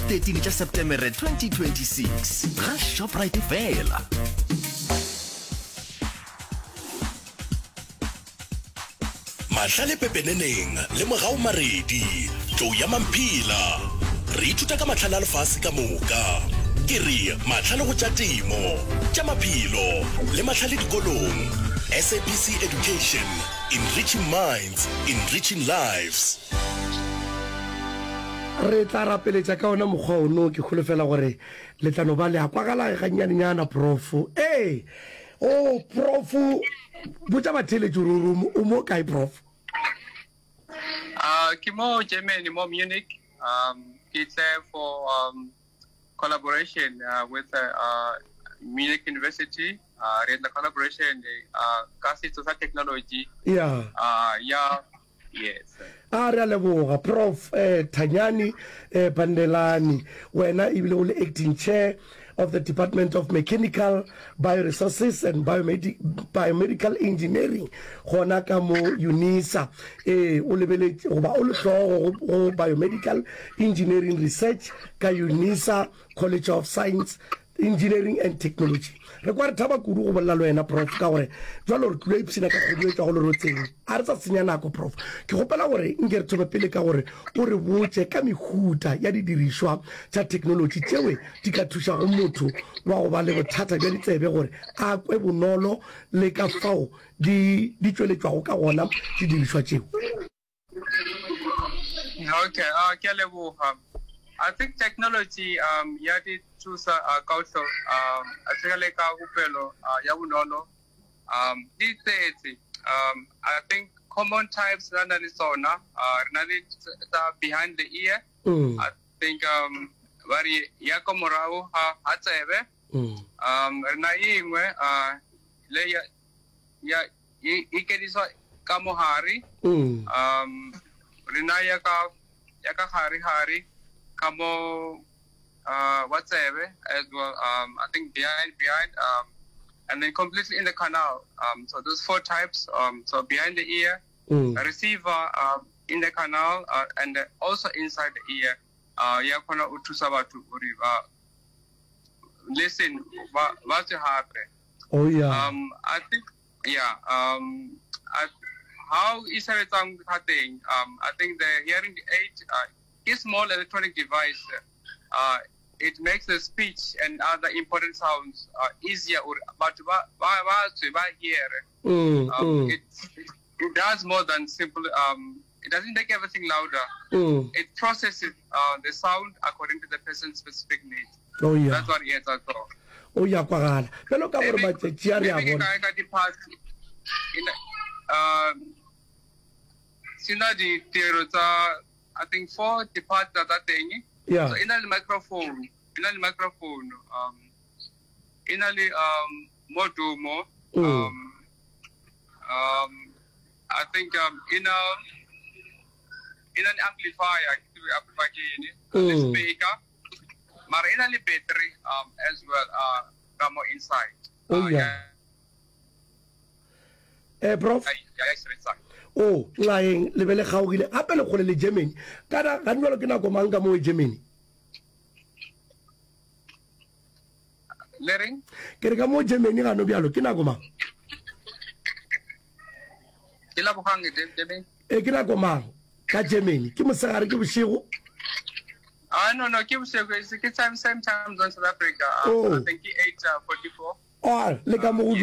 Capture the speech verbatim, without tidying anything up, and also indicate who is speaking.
Speaker 1: thirteen tša Setemere twenty twenty-six ga Shoprite fela.
Speaker 2: Mahlale pepeneneng le Mogau Maredi, Tlou ya Mamphela. Re ithuta ka mahlale a lefase ka moka. Ke re mahlale go tša temo, tša maphelo le mahlale dikolong. S A B C Education, enriching minds, enriching lives.
Speaker 3: Re tla rapeletša ka ona mokgwa ono. Ke holofela gore le tla no ba le a kwagala gannyanenyana, Prof. Ee, o Prof, botša batheeletši gore o mo kae, Prof?
Speaker 4: Uh, ke mo Germany, mo Munich. Um, ke tle for um, collaboration uh, with uh, uh, Munich University. Uh, re etla collaboration uh, ka setso sa technology.
Speaker 3: Yeah.
Speaker 4: Uh, ya, yes.
Speaker 3: A re a leboga Prof eh, Thanyani eh, Pandelani, wena ebile o le acting chair of the Department of Mechanical Bioresources and Biomedi Biomedical Engineering gona ka mo UNISA. Ee, o lebeletše goba o le hlogo go Biomedical Engineering Research ka UNISA College of Science, Engineering and Technology. Re kwa re thaba kudu go bolela le wena, Prof, ka gore jwalo re tlilo ipshina ka kgodu e tšwago lerotseng. A re sa senya nako, Prof, ke kgopela gore nke re thome pele ka gore o re botše ka mehuta ya didirišwa tša theknolotši tšewe di ka thušago motho wa go ba le bothata bja ditsebe gore a kwe bonolo le ka fao di di tšweletšwago ka gona didirišwa tšeo.
Speaker 4: Okay, uh, ke a leboga. I think technology um ya di thusa uh, ka otlo um especially ka kupelo uh, ya bonolo um di tletse. um I think common types re na le tsona, uh, re na le tsa behind the ear.
Speaker 3: Mm.
Speaker 4: I think um ba re ya ko morago ga ga tsebe.
Speaker 3: Mm.
Speaker 4: Um re na engwe uh, le ya ya e e kediswa ka mohare.
Speaker 3: Mm.
Speaker 4: Um re na ya ka ya ka gare gare ka mo uh wa tsebe as well. um I think behind behind um and then completely in the canal. Um so those four types, um so behind the ear,
Speaker 3: Mm.
Speaker 4: receiver um in the canal, uh, and also inside the ear. Uh ya khona o thusa batho gore ba listen ba ba tswe hape.
Speaker 3: Oh yeah.
Speaker 4: Um I think yeah, um I, how e sebetsang ka teng, um I think the hearing aid uh, is small electronic device. Uh, it makes the speech and other important sounds uh, easier or batho ba ba ba tswe ba hear.
Speaker 3: Mm,
Speaker 4: Um,
Speaker 3: mm.
Speaker 4: it, it it does more than simple, um it doesn't make everything louder.
Speaker 3: Mm.
Speaker 4: It processes uh, the sound according to the person's specific needs.
Speaker 3: Oh yeah.
Speaker 4: That's what it etsa so.
Speaker 3: O ya kwagala bjalo ka gore
Speaker 4: Maybe
Speaker 3: matšatši a re a
Speaker 4: maybe ke
Speaker 3: bona.
Speaker 4: ka ka di-parts in um sena ditiro tsa I think four di-parts tsa teng.
Speaker 3: Yeah.
Speaker 4: So e na le microphone, e na le microphone, um e na le um modumo,
Speaker 3: Mm.
Speaker 4: um um I think um e na e na le amplifier, ke tsebe amplifier ke eng, le
Speaker 3: Mm.
Speaker 4: speaker, mara e na le battery um as well uh ka mo inside.
Speaker 3: Oh
Speaker 4: Uh,
Speaker 3: yeah. Eh Prof,
Speaker 4: ya ya sebetsang.
Speaker 3: o nxaeng le be le kgaogile gape le kgole le Germany. Kana ga jwalo ke nako mang ka mo Germany?
Speaker 4: Le reng?
Speaker 3: Ke re ka mo Germany gano bjalo ke nako mang?
Speaker 4: Ke lebogang Germany.
Speaker 3: E ke nako mang ka Germany? Ke mosegare ke bošego?
Speaker 4: Ah no no ke bošego, ke time same time zone South Africa. Uh,
Speaker 3: Oh.
Speaker 4: I think ke eight forty-four.
Speaker 3: Oh, le ka mo go